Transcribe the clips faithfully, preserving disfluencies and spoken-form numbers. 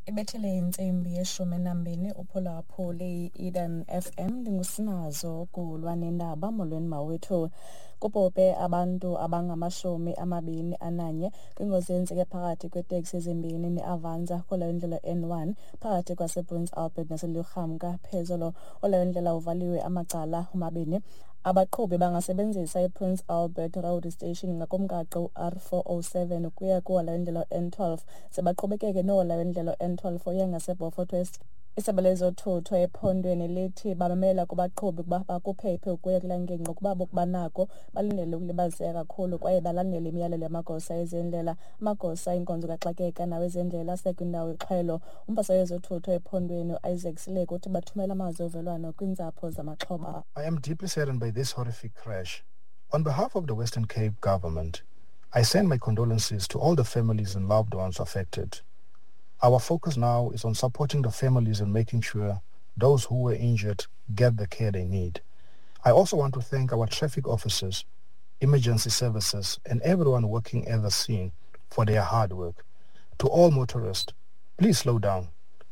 Ibethele intsimbi yeshumi nambini uphulaphuli i-Eden F M. Ndingusinazo kulwa nendaba. Molweni mawethu. Kubhubhe abantu abangamashumi amabini ananye kwingozi eyenzeke phakathi kweeteksi ezimbini neAvanza kulo indlela N one phakathi kwasePrince Albert naseLurhamka phezolo. Olo ndlela uvaliwe amacala omabini. Abaqhubi bangasebenzisa iPrince Albert Road Station ngakumgaqo u-R four oh seven ukuya kuhola wendlela N twelve, ze baqhubekeke nohola wendlela N twelve oya ngaseBeaufort West. Isebe lezothutho ephondweni lithi bamemela kubaqhubi ukuba bakuphephe ukuya kulaa ngingqi ukuba banako balindele ukulibaziseka kakhulu kwaye balandele imiyalelo yamagosa ezendlela. Amagosa enkonzo kaxakeka nawezendlela asekwindawo yexhwelo. Umphathiswa wezothutho ephondweni uIsaac Sileku uthi bathumela amazwi ovelwano kwiintsapho zamaxhoba. I am deeply saddened by this horrific crash. On behalf of the Western Cape government, I send my condolences to all the families and loved ones affected. Our focus now is on supporting the families and making sure those who were injured get the care they need. I also want to thank our traffic officers, emergency services, and everyone working at the scene for their hard work. To all motorists, please slow down,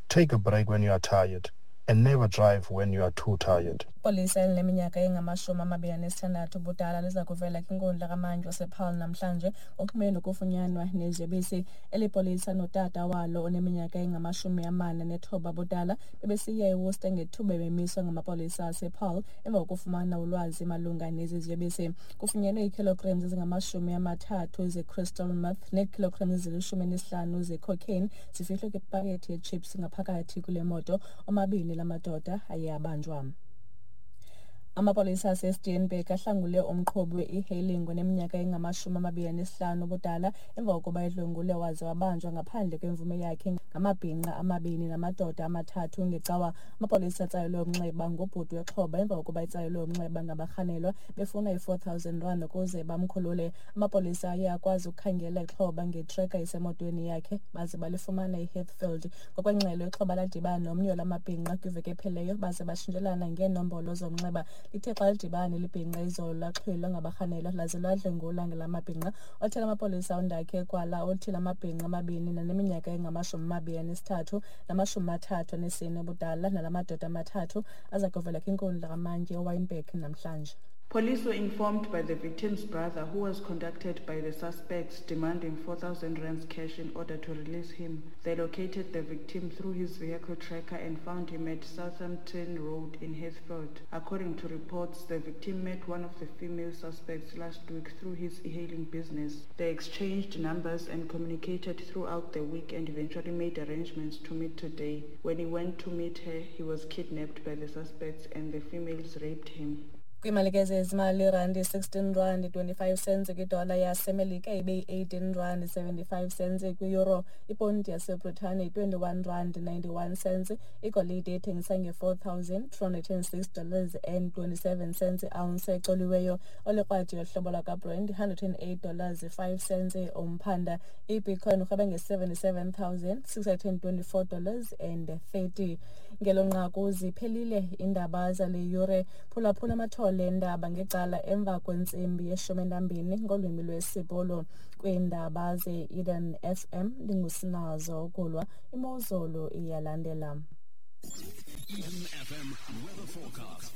take a break when you are tired, and never drive when you are too tired. Ipolisa elineminyaka engamashumi amabini anesithandathu ubudala liza kuvela kwinkundla kamantyi wasePaarl namhlanje ngokuxhumene nokufunyanwa neziyobisi. Eli polisa notata walo oneminyaka engamashumi amane nethoba ubudala bebesiya eWorcester ngethuba bemiswa ngamapolisa asePaarl emva kokufumana ulwazi malunga nezi ziyobisi. Kufunyenwe iikilograms ezingamashumi amathathu ze-crystal meth neekilograms ezilishumi elinesihlanu ze-cocaine zifihlwe kwipakethi yechips ngaphakathi kule moto. Omabini la madoda aye abanjwa. Amapolisa aseSteenberg ahlangule umqhubi we-e-hailing oneminyaka engamashumi amabini anesihlanu ubudala emva kokuba edlwengulwe waze wabanjwa ngaphandle kwemvume yakhe ngamabhinqa amabini namadoda amathathu ngeCawa. Amapolisa atsalelwe umnxeba ngubhuti wexhoba emva kokuba etsalelwe umnxeba ngabarhanelwa befuna i-four thousand rand ukuze bamkhulule. Amapolisa aye akwazi ukukhangela ixhoba ngetracker esemotweni yakhe baze balifumana eHeathfield. Ngokwengxelo, ixhoba ladibana nomnye wala mabhinqa kwiveki ephelileyo baze batshintshelana ngeenombolo zomnxeba. Lithe xa lidibana neli bhinqa izolo, laxhwilwa ngabarhanelwa laze ladlwengulwa ngala mabhinqa. Othethela amapolisa uNdakhe Kwala uthi la mabhinqa amabini naneminyaka engamashumi amabini anesithathu namashumi amathathu anesine ubudala nala madoda amathathu aza kuvela kwinkundla kamantyi eWynberg namhlanje. Police were informed by the victim's brother, who was contacted by the suspects demanding four thousand rands cash in order to release him. They located the victim through his vehicle tracker and found him at Southampton Road in Heathfield. According to reports, the victim met one of the female suspects last week through his e-hailing business. They exchanged numbers and communicated throughout the week and eventually made arrangements to meet today. When he went to meet her, he was kidnapped by the suspects and the females raped him. Kwiimalike zezimali, irandi sixteen rand twenty-five cents kwidola yaseMelika, ibe yi-eighteen rand seventy-five cents kwi-euro. Iponti yaseBritane yi-twenty-one rand ninety-one cents. Igolide ithengisa nge-four thousand two hundred and six dollars and twenty-seven cents i-ounce ecoliweyo. Olikrwadi yohlobo lwakaBrent, one hundred and eight dollars five cents umphanda. Ibitcoin urhweba nge-seventy-seven thousand six hundred and twenty-four dollars and thirty. Ngelo nqaku ziphelile iindaba zale yure. Phulaphula amathole endaba ngecala emva kwentsimbi yeshumi nambini ngolwimi lwesiBhulu. Kwiindaba ze-Eden F M, ndingusinazo ukulwa. Imozulu iyalandela. Eden F M weather forecast.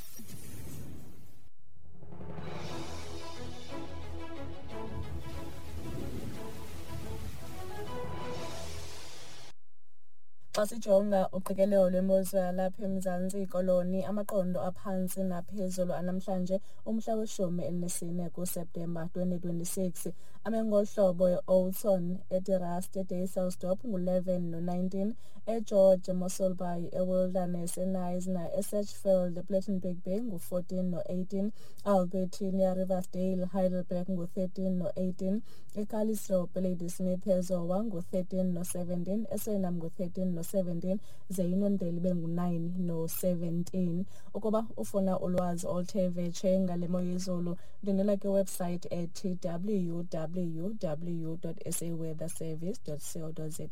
Xa sijonga uqikelelo lwemozulu yalapha eMzantsi Koloni, amaqondo aphantsi naphezulu anamhlanje umhla weshumi elinesine kuSeptemba twenty twenty-six ame ngolu hlobo: eOudtshoorn, eDe Rust, eDysselsdorp ngu-eleven no-nineteen, eGeorge, eMossel Bay, eWilderness, eKnysna, eSedgefield, ePlettenberg Bay ngu-fourteen no-eighteen, Albertina, Riversdale, Heidelberg ngu-thirteen no-eighteen, eCalitzdorp, eLadysmith, eZowa ngu-thirteen no-seventeen, eSuriname ngu-thirteen no-seventeen, ze iUniondale ibe ngu-nine no-seventeen. Ukuba ufuna ulwazi oluthe vetshe ngale mo yezulu, ndwendwela kwiwebsite ethi W W W dot saweatherservice dot co dot za.